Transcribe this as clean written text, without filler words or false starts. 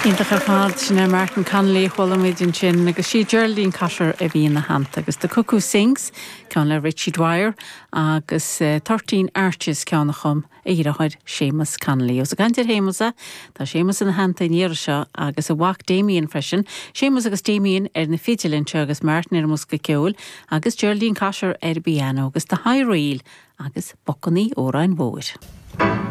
Iontach ar fad, sin é Martin Connolly a chuala muid ansin agus sí Geraldine Cotter a bhí ina theannta agus The Cuckoo Sings, ceann le Richie Dwyer agus Thirteen Arches, ceann a chum a dheartháir Séamus Connolly. Ós ag caint ar Shéamus é, tá Séamus ina theannta an iarraidh seo agus a mhac Damien freisin, Séamus agus Damien ar na fidil anseo agus Martin ar an mbosca ceoil agus Geraldine Cotter ar an bpianó agus The High Reel agus Bocannaí Óráin Mhóir.